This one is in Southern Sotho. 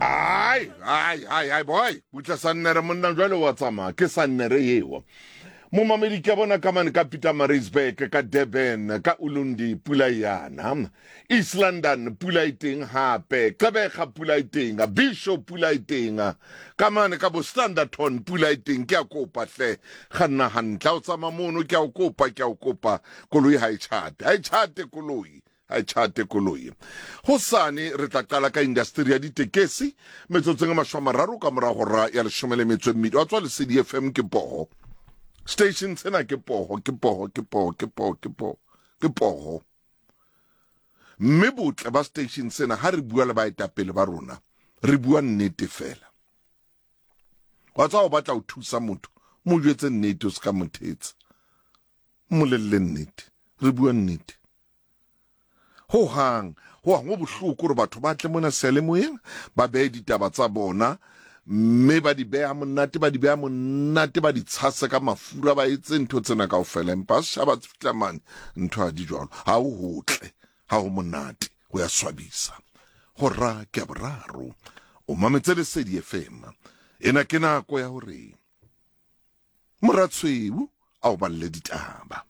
Ai, ai, ai, ai, boy, butla sannere monna jwale wa tsamaya, ke sannere eo. Momamedi ke a bona ka mane ka Pietermaritzburg, ka Durban, ka Ulundi pula e yana. East London pula e teng hape, Gqeberha pula e teng, Bisho pula e teng, ka mane ka bo Standerton pula e teng. Ke a kopa hle, kganna hantle ha o tsamaya mono, ke a o kopa, ke a o kopa, koloi ha e tjhate, ha e tjhate koloi. Ha e tjhate koloi. Hosane re tla qala ka indasteri ya ditekesi metsotsong e 30 ka mora hora ya 12. Wa tswa Lesedi FM ke poho. Station sena ke poho, ke poho, ke poho, ke poho, ke poho, ke poho. Mme botle ba station sena ha re bua le baetapele ba rona, re bua nnete fela. Wa tswa o batla ho thusa motho, mo jwetse nnete o se ka mo thetsa. Mmolelle nnete, re bua nnete. Ho hang, ho hang ho bohloko hore batho ba tle mona seyalemoyeng ba behe ditaba tsa bona mme ba di beha monate, ba di beha monate, ba di tshase ka mafura, ba etse ntho tsena kaofela, empa setjhaba se fihla mane ntho ha di jwalo. Ha ho hotle, ha ho monate, ho ya swabisa. Hora ke ya boraro, o mametse Lesedi FM. Ena ke nako ya hore Moratshweu a o balle ditaba.